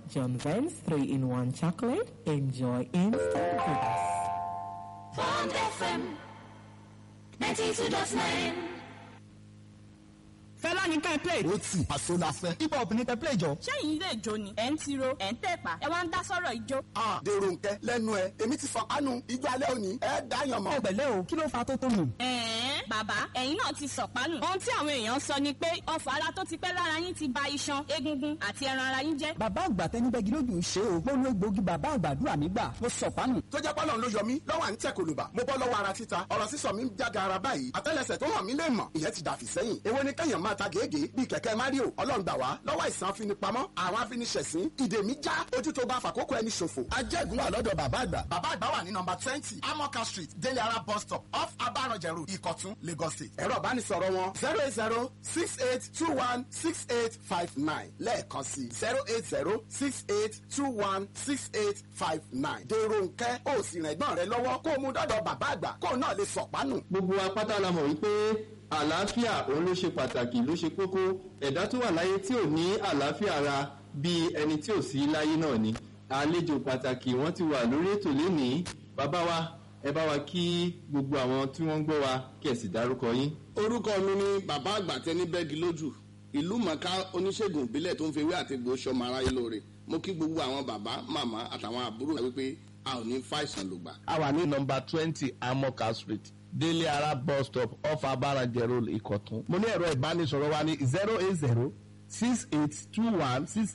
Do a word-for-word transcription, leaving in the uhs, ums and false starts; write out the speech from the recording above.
John Vance three in one chocolate. Enjoy instant goodness. Bond F M ninety-two dot nine. Fẹlá ní ká ẹ play. Ó tì àṣọ la fẹ́. Hip hop ní kẹ́ play jọ. Ṣẹ́yìn ilé ìjó ni ẹ̀ ń tiro ẹ̀ ń tẹ̀pá ẹ wá ń dá sọ̀rọ̀ ijó. A dèrò nkẹ lẹ́nu ẹ èmi ti sọ kánú ijó alẹ́ òní ẹ dáyàn mọ́. Ẹ pẹ̀lẹ́ o, kí ló fa tó tó nù? Ẹ̀ẹ́n bàbá ẹ̀yin náà ti sọ̀pánù. Ohun tí àwọn èèyàn sọ ni pé ọfọ̀ ara tó ti pẹ́ lára yín ti ba iṣan, egungun àti ẹran ara yín jẹ́. Bàbá àgbà tẹnibẹ́gi lójú ṣe o. Mo lo egbòogi bàbá àgbàdúrà mi gbà. Mo sọ̀pánù. Tó jẹ́ pọ́lọ́n ló yọ mí lọ́wọ́ à ń tẹ̀ kòlùbà. Mo bọ́ lọ́wọ́ ara títa. Ọ̀rọ̀ sísọ mi ń jága ara báyìí. Àtẹ́lẹsẹ̀ tó hàn mí lè mọ̀. Ìyẹn ti dàfí sẹ́yìn. Èwo ni kẹ́yàn máa ta gègé bíi kẹ̀kẹ́ Mario. Ọlọ́run gbà wá lọ́wọ́ àìsàn afinipamọ́ àwọn afiniṣẹ̀sín. Ìdè mi já ojú tó bá fàkókò ẹni ṣòfò. Ajẹ́gun wà lọ́dọ̀ bàbá àgbà. Bàbá àgbà wà ní nọmba twenty Amoka Street, Délé Ara bus stop off Abaranjẹ Road, Ìkọ̀tún, Lagos State. Ẹ̀rọ ìbánisọ̀rọ̀ wọn zero eight zero six eight two one six eight five nine lẹ́ẹ̀kan sí zero eight zero six eight two one six eight five nine. Dèrò nkẹ́ ó sì rìn ẹ̀gbọ́n rẹ lọ́wọ́ kó o mú dọ́dọ̀ bàbá àgbà kó o náà lè sọ̀pánù. Gbogbo wa pátá la mọ̀ wípé àlàáfíà òun ló ṣe pàtàkì ló ṣe kókó. Ẹ̀dá tó wà láyé tí ò ní àlàáfíà ara bí ẹni tí ò sí láyé náà ni. Àlejò pàtàkì wọ́n ti wà lórí ètò lénìí. Bàbá wa, ẹ bá wa kí gbogbo àwọn tí wọ́n ń gbọ́ wa kí ẹ sì dárúkọ yín. Orúkọ mi ni bàbá àgbà tẹni bẹ́ẹ̀gì lójú, ìlú mọ̀ká oníṣègùn ìbílẹ̀ tó ń fi ewé àti egbò ṣọmọ aráyé lóore. Mo kí gbogbo àwọn bàbá, màmá àtàwọn àbúrò wípé a ò ní fàìsàn lògbà. A wà ní nọmba twenty Amoka Street, Délé Ara bus stop off Abaranjẹ Road, Ìkọ̀tún. Mo ní ẹ̀rọ ìbánisọ̀rọ̀ wa ní zero eight zero six eight two one six